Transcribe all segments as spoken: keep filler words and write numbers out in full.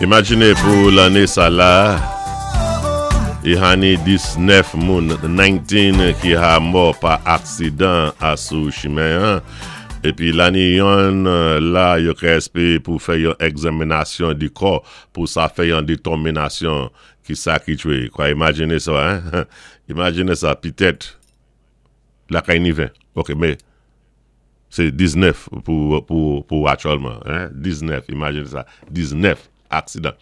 Imajiné pou lanné sa la, i hani diznèf moun, nineteen ki ha mò pa aksidan asou chimen an. Épi la ni yonn la yo ka èspéwé pou fè yon egzaminasyon di kò pou sa fè yon détèminasyon ki sa ki twé. Kwa imajiné sa, hein? Imajiné sa, pitèt la kay ni ven. Ok, mé sé diznèf pou, pou, pou aktyèlman, hein? diznèf, imajiné sa, diznèf aksidan.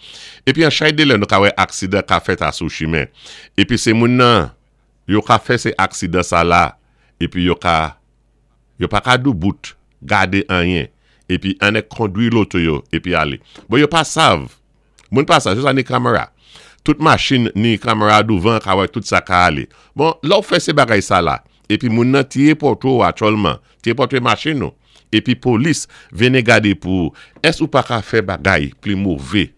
Épi an chay dé lè nou ka wè aksidan ka fèt asou chimen. Épi sé moun nan, yo ka fè sé aksidan sa la, épi yo ka, yo pa ka doubout, gadé anyen, épi annèk kondwi loto yo, épi alé. Bon, yo pa sav, moun pa sav, yo sa ni kamera. Tout machin ni kamera douvan ka wè tout sa ka alé. Bon, lè ou fè sé bagay sa la, épi moun nan tiyé pòtwé ou aktyèlman, tiyé pòtwé machin nou, épi polis vini gadé pou, ès ou pa ka fè bagay pli mové?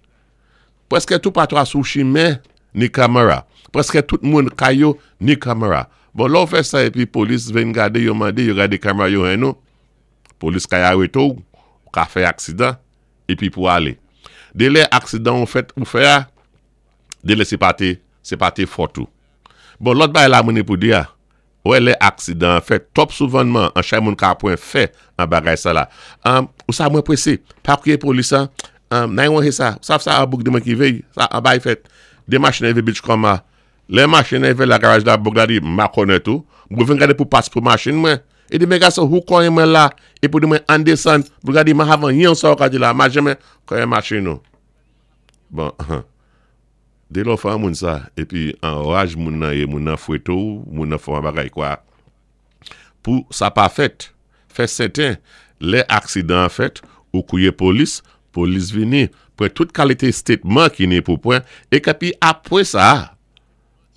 Pwèské tout patou asou chimen ni kamera. Pwèské tout moun kay yo ni kamera. Bon, lè ou fè sa épi polis vin gadé, yo mandé, yo gadé kamera yo hen nou, polis kay arété ou, ou ka fè aksidan, épi pou alé. Dé lè aksidan ou fèt ou fè a, dé lè sé pa té, sé pa té fòt ou. Bon, lòt bagay la mwen ni pou di a, wè lè aksidan fèt, twòp souvanman, an chay moun ka pwen fè an bagay sa la. Um, ou sa mwen pwésé, pa kwiyé polis an, um, nan yon he sa, sa sa a bouk di mwen ki véy, sa an bay fèt, dé machin évé Beachcomber, lè machin évé la garaj la bouk la di, ma konè tou, mwen vin gadé pou pas pou machin mwen, é di men gason, ou konyen mwen la, é pou di mwen an desann, pou gade ma havan yon sa ou ka di la, ma jeme konyen machin nou. Bon, dé lè ou fè an moun sa, épi an raj moun nan yé, moun nan fwété ou, moun nan fè an bagay kwa. Pou sa pa fèt, fè sèten, lè aksidan fèt, ou kwiyé polis, polis vini, pran tout kalité statement ki ni pou pran, é képi apwé sa,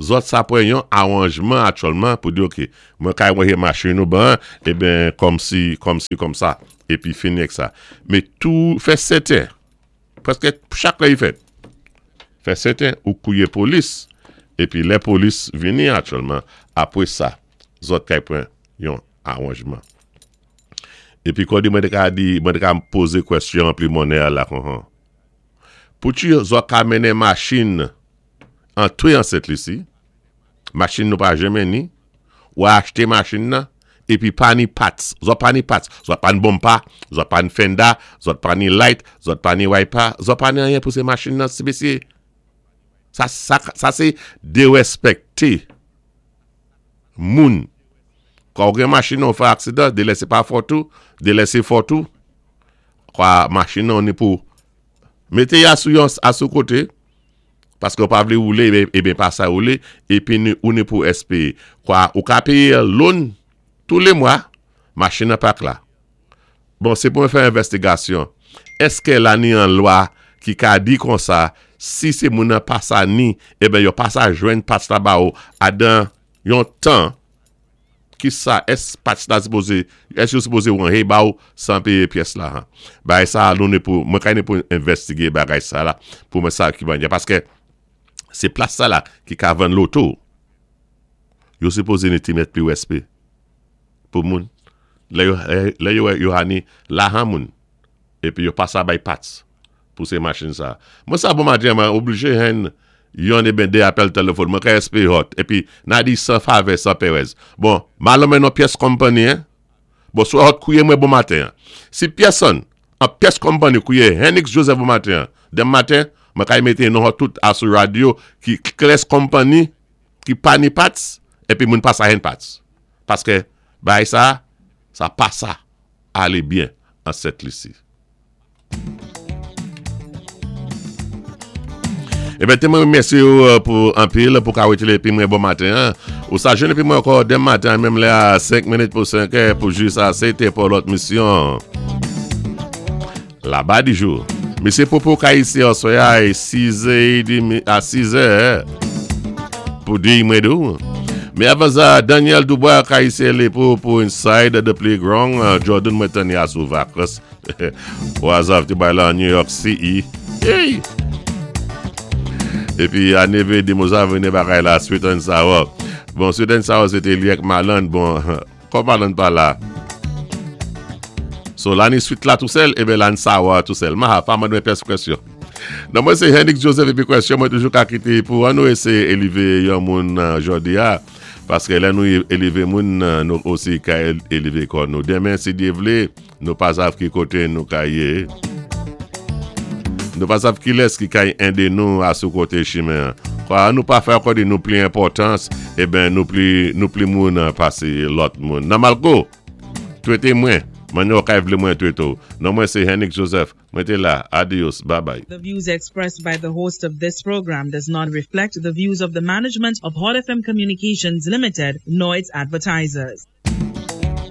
zòt sa pran yon awanjman aktyèlman pou di ok, mwen kay wè machin nou ban, é ben kòm si, kòm si, kòm sa, épi fini ak sa. Mé tou fè sèten, pwèské chak lè yi fèt, fè sèten ou kwiyé polis, épi lè polis vini aktyèlman, apwé sa, zòt kay pran yon awanjman. Épi kon di mwen té ka di, mwen té ka pozé kwèsyon pli monè la kon han. Pou ti zòt ka mennen machin antwé an Sent Lisi, machin nou pa janmen ni, ou achté machin nan, épi pa ni parts, zòt pa ni parts, zòt pa ni bumper, zòt pa ni fender, zòt pa ni light, zòt pa ni wiper, zòt pa ni anyen pou sé machin nan, sé mésyé. Sa, sa, sa sé dérèspèkté moun. Kwa ou gen machin nan ou fè aksidan, dé lè sé pa fòt ou, dé lè sé fòt ou, kwa machin nan ni pou mété ya sou yon asou koté, paské ou pa vlé woulé, é ben pa sa woulé, épi ni, ou ni pou espéwé. Kwa ou ka péyé loan tou lé mwa, machin nan pak la. Bon, sé pou mwen fè envèstigasyon. Èské la ni an lwa ki ka di kon sa, si sé moun nan pa sa ni, é ben yo pa sa jwenn parts la ba ou, adan yon tan, ki sa, ès parts la sipozé, ès yo sipozé ou an hey ba ou, san péyé pyès la, han. Bagay sa, nou ni pou, mwen kay ni pou envèstigé bagay sa la, pou mwen sa ki ban ya, paské sé plas sa la ki ka vann loto. Yo sipozé ni ti mèt pli wèspé pou moun. Lè yo, lè yo, yo hani la han moun, épi yo pa sa bay parts pou sé machin sa. Mwen sa bon maten, mwen oblijé hen yon é ben dé apèl téléfòn, mwen ka espéwé hot, épi na di san favè, san pèrèz. Bon, ma lonmen non pyès company, hein? Bon, sou hot kwiyé mwen bon maten. Si pyèsonn, an pyès company kwiyé Henix Joseph bon maten, dem maten, mwen kay mété non hot tout asou radyo ki kles company, ki pa ni parts, épi moun pa sa hen parts. Paské, bay sa, sa pa sa, alé byen an Sent Lisi. Eh ben, té mwen remèsyé ou, euh, pou anpil, pou ka wété épi mwen bon maten, hein. Ou sa jwenn épi mwen ankò dem maten, menm lè a senk minit pou senk è, pou jis a sété pou lòt misyon. Là-bas du jour. Monsieur Popo ka isi aswè a sis è demi, a sis è, pou di mwen dou. Mais avant ça, Daniel Dubois ka isi lé pou, pou Inside the Playground, euh, Jordan mwen tani a sou vakans. Au hasard, tu vas là en New York City. Hey! Et puis, à neve, di mousa vene bagay la, Sweet and Sour. Bon, Sweet and Sour, c'était lié avec Marlon. Bon, comme Marlon pas là. So la ni sweet la tou sèl, ében la ni sour tou sèl. Ma ha, pa mande mwen pyès kwèsyon. Non mwen sé Henrik Joseph épi kwèsyon mwen toujou ka kité pou an nou éséyé élévé yon moun jòdi a. Paské lè nou élévé moun nou osi ka élévé kò nou. Denmen si Dye vlé, nou pa sav ki koté nou ka yé. Nou pa sav ki lès ki ka édé nou a sou koté chimen. Kwa nou pa fè kòdi nou pli enpòtans, eben nou pli, nou pli moun pasé lòt moun. Nan malko, twété mwen, mwen yo kay vlé mwen twété ou. Non mwen sé Henrik Joseph, mwen té la, adios, bye bye. The views expressed by the host of this program does not reflect the views of the management of Hot FM Communications Limited nor its advertisers.